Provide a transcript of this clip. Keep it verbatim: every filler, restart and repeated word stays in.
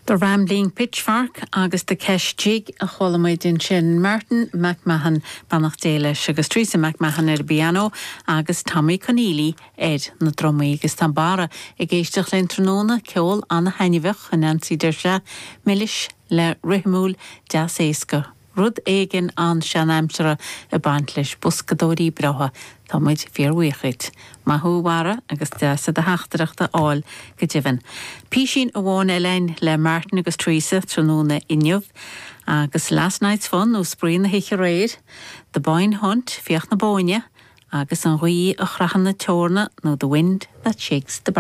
The Rambling Pitchfork agus The Kesh Jig a chuala muid ansin Martin McMahon beannacht Dé leis agus Teresa McMahon ar piano agus Tommy Conneely ar na drumaí agus tá Barra ag éisteacht linn tráthnóna ceol an-thaitneamhach a Nancy deir sé milis le rithimiúil deas éasca. Rud éigin an-seanaimseartha ag baint leis boscadóirí breátha Tá muid fíorbhuíoch. Maith thú a Bharra agus deas do theachtaireacht a fháil go deimhin. Písín amháin eile le Martin agus Teresa tráthnóna inniu, agus Last Night's Fun nó Spraoi na hoíche aréir, The Boyne Hunt Fiach na Bóinne, agus an ghaoth a chroitheann na eorna nó The Wind That Shakes the Bar.